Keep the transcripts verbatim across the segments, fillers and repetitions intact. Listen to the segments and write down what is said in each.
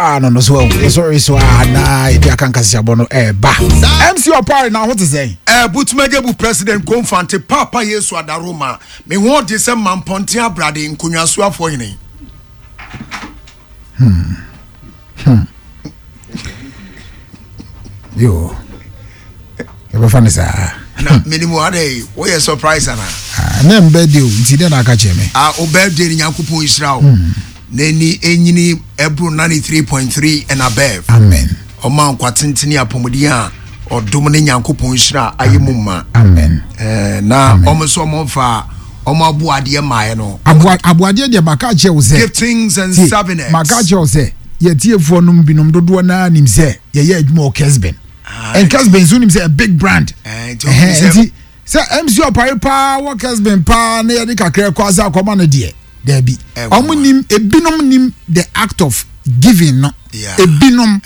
No no so yɛsɔre so a na yɛde aka nkasɛabɔ no ɛɛba. M C Ɔpare na ho te sɛn? Eh, Butumagebu President Komfante Papa Yesu Adaroma, me ho de sɛ mampɔnten abrade nkonnwasuafoɔ hene. hmm. hmm. Yo, yɛbɛfa no saa. Na menimu adɛ woyɛ surprise ana? Ah, na m birthday o, nti dɛn na aka kyerɛ me? Ah, o birthday ni, Nyankopɔn nhyira wo hmm. N'ani enyini ɛboro ninety-three point three and above. Amen. Ɔma nkwa tentene, apɔmuden a ɔdom ne Nyankopɔn nhyira ayɛ mu ma. Amen. eh, na ɔmo nso ɔmo fa ɔmo aboadeɛ maaɛ no. Aboadeɛ deɛ, maka kyerɛ wo sɛ giftings and souvenirs. Maka kyerɛ wo sɛ yɛtiefoɔ nom binom dodoɔ naa nim sɛ yɛyɛ adwuma wɔ Kesben, and Kesben nso nim sɛ a big brand. Nti sɛ M C Ɔpare paa wɔ Kesben paa na yɛde kakra kɔ ase akɔma no deɛ, daabi, ɔmo nim, ebinom nim the act of giving no, ebinom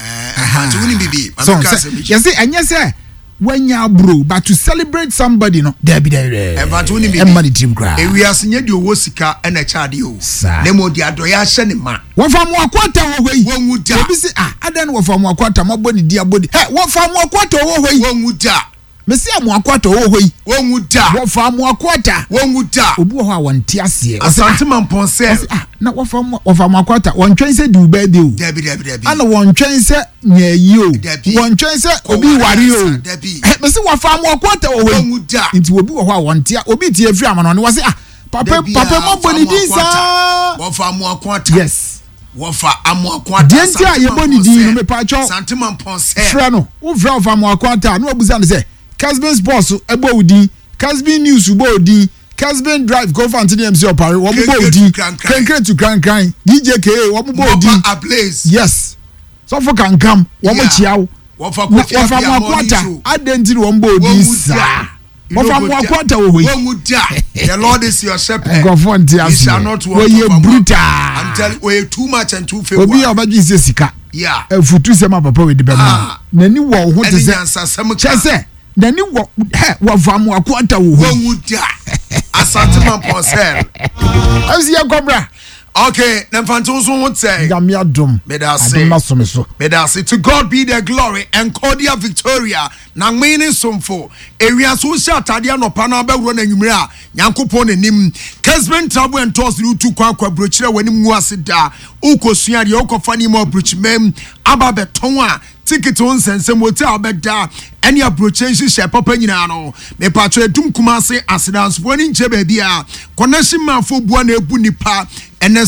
so yɛsɛ ɛnyɛ sɛ wanya aburo, but to celebrate somebody no, daabi daabi, ɛmma ne tirim koraa. Ewiase nye deɛ owó sika ɛna ɛkyɛ adeɛ o, ne mo de adɔyɛ ahyɛ ne ma. Wɔfa mu akɔta wɔ hɔ yi. Wɔn wu da. Obi si, ah, adan wɔfa mu akɔta mo abɔ ne di abɔ di ɛ, wɔfa mu akɔta wɔ hɔ yi. Wɔn wu da. Mesi amoakwata wɔ hɔ yi. Wɔn wu da. Wɔfa amoakwata. Wɔn wu da. Obi wɔ hɔ a wɔnte aseɛ. Asante Mampɔnsɛ. Ɔsi, ah, na wɔfa mu wɔfa amoakwata, wɔntwɛn sɛ di wo birthday o. Dabi dabi dabi. Ana wɔntwɛn sɛ nyɛ yi o. Dabi. Wɔntwɛn sɛ obi ware o. Dabi. Ɛ, mesi wɔfa amoakwata wɔ hɔ yi. Wɔn wu da. Nti obi wɔ hɔ a wɔnte a, obi tie efiri amano ne wɔsi, ah, papa papa mo bɔ ne din saa. Wɔfa amoakwata. Yes. Wɔfa amoakwata. Deɛ nti a yɛbɔ ne din no, mepatwɔ. Asante Mampɔnsɛ. Frɛ no, wofrɛ wɔfa amoakwata a, na wabusa no sɛ Kesben Sports ɛbɔ wo din, Kesben News bɔ wo din, Kesben Drive Kofante ne M C Ɔpare wɔn bɔ wo din, Kenkre tu Krankran, D J K wɔn bɔ wo din. Ablaze. Yes, sɔfo kankam wɔn kyia wo. Wɔfa Kofi. Wɔfa amoakwata, adan nti na wɔn bɔ wo din saa? Wɔfa amoakwata wɔ hɔ yi. Wɔn mu da. The Lord is your shepherd. Nkurɔfoɔ nte aseɛ, wɔyɛ brutal. I'm telling you, wɔyɛ too much and too favour. Obi a ɔbɛgye sɛ sika efutu sɛm a papa wei de bɛ ma n'ani wɔ ho te sɛ kyɛ sɛ n'ani wɔ hɛ, wɔfa amoakwata wɔ hɔ yi. Wɔn mu da. Asante Mampɔnsɛ. Ɛnsi yɛ kɔbra. Okay, na mfantew nso ho sɛ. Nyame adom. Meda ase. Adom na som so. Meda ase. To God be the glory. Encodia Victoria na nwene ne somfo. Ewia so wohyɛ atadeɛ anɔpa na abɛworɔ no anwummerɛ a, Nyankopɔn n'anim. Kesben Travel and Tours ne wotu kwan akɔ aburokyerɛ a w'anim ngu ase da. Wokɔsua adeɛ, wokɔfa nneɛma aburokyimam aba abɛtɔn a, ticket ho nsɛnsɛm, wɔti a wobɛda ɛne aburokyerɛ nhyehyɛ papa nyinaa no. Mepatwɛ Adum Kumase asedansofoɔ ani nkyɛ baabi a connection manfo bua na ebu nipa ɛnɛ.